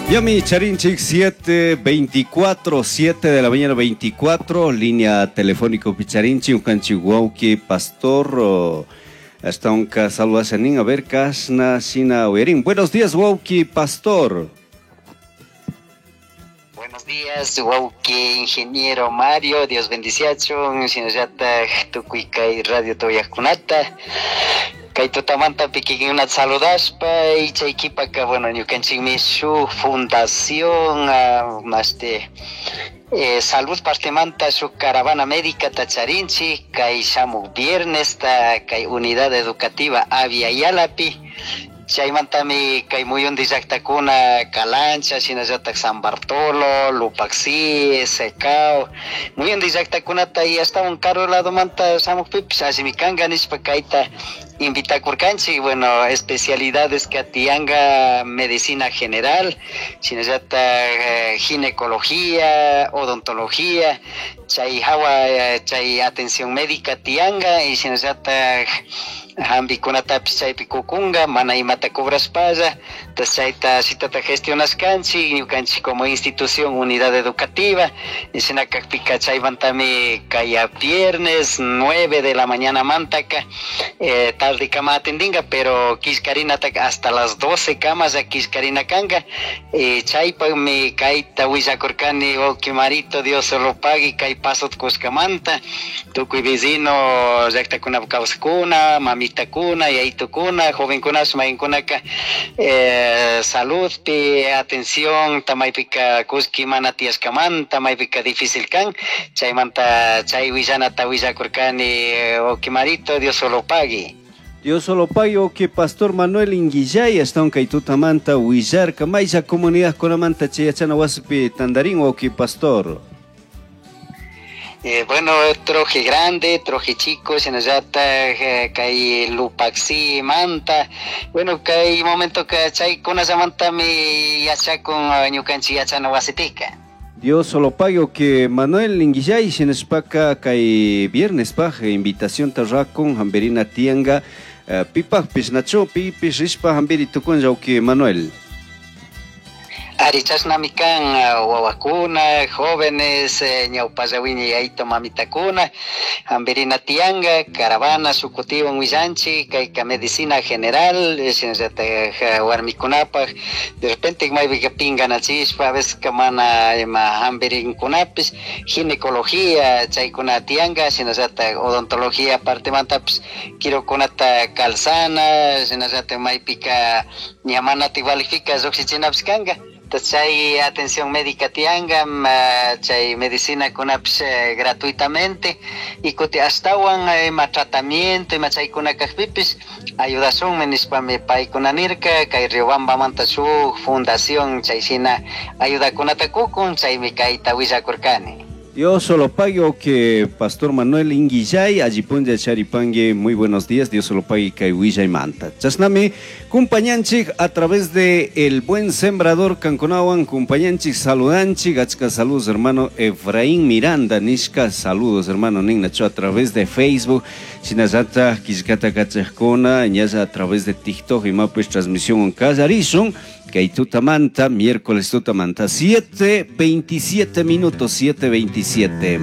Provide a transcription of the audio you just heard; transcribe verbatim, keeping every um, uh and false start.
Yami Charinchik siete veinticuatro, siete de la mañana veinticuatro, línea telefónico Picharinchi, Ucanchi Wauki, Pastor, hasta un saludasanin, a ver, Kasna, Sina, Uerin. Buenos días, Wauki, Pastor. Buenos días, Wauki, ingeniero Mario, Dios bendiciacho, Sinayata, Tucuicay, Radio Toyakunata. Kay tutamanta pikikunata saludaspa y chay kipaka, bueno, ñukanchikmi shuk fundación, uh, este, eh, salud partemanta shuk caravana médica tacharinchik, kay shamuk viernes ta kay unidad educativa Avia Yalapi. Chaymantami kay muyundi llaqtakuna Calancha, shinallatak San Bartolo, Lupaxi, Secao, muyundi llaqtakunata y hasta un caro ladomanta shamukpipis allimi kanka nishpa kayta invitakurkanchik. Bueno, especialidades que atianga medicina general, shinallatak eh, ginecología, odontología, chay hawa, eh, chay atención médica tianga y shinallatak hampikunatapis chaypi kukunga, mana imata cobraspalla, entonces chayta shitata gestionashkanchik, ñukanchik como institución, unidad educativa, y shinakakpika chaymantami kaya viernes nueve de la mañana mantaka, eh, tarde kama atendinga, pero kishkarinataka hasta las doce kamas ya kishkarina kanga, eh, chaypakmi kayta willakurkani, wawqi Marito, Dios solo pague, kay pasot kushkamanta, tukuy vecino llaqtakunapa kawsakuna, mamita kuna, yaytukuna, jovenkunash mayinkunaka, eh, saludpi, atención, tamaypika kuski mana tiyashkamanta, maypika difícil kan, chaymanta chay willanata willakurkani, wawqi Marito, Dios solo pague. Dios solo pague, que Pastor Manuel Inguillay, hasta un kaytutamanta willarka, maylla comunidad kunamanta chayachana wasipi tandarín, wawqi Pastor. Eh, bueno, troje grande, troje chico, shinallata, eh, kay Lupaxi, Manta. Bueno, kay momento que chay kunallamanta mi yachakun, eh, ñukanchik yachana wasipika. Dios solo pague, que Manuel Inguillay, shinashpaka kay viernes paj, invitación tarrakun, hamberina tianga, eh, pipaj pishnacho, pipis rishpa hamberi tukunlla, que Manuel. Ari chashnami kan, wawakuna, jóvenes, eh, ñawpallawiña yayto mamitakuna, hamberina tianga, caravana, shukutiwan willanchik, kayka medicina general, shinallatak warmikunapaj, de repente maypika pinganachishpa, a veces ka mana ima hamberinkunapish, ginecología, chaykuna tianga, shinallatak odontología partemantapish, kirukunata calzana, shinallatak maypika ña manatik valijpika llukshichinapish kanka. Entonces, chay atención médica tianga, chay medicina kunapish, eh, gratuitamente, y kuti ashtawan, eh, ima tratamiento, ima chaykuna kajpipish, ayudashunmi nishpami paykuna nirka, kay Riobambamanta shuk fundación chay shina ayudakunata kukun, chaymi kayta willakurkani. Dios solo pague, que Pastor Manuel Inguillay, allí Charipangue, muy buenos días, Dios solo pague kay willay manta. Chasnami, cumpañanchik a través de El Buen Sembrador Canconawan, cumpañanchik, saludanchik, achka saludos hermano Efraín Miranda, nishka saludos hermano Ningnacho a través de Facebook, Shinazata, Kishkata Kachajkona, ñaza a través de TikTok y mapes transmisión en Casarizón. Kay tutamanta, miércoles tutamanta, siete veintisiete minutos, siete veintisiete.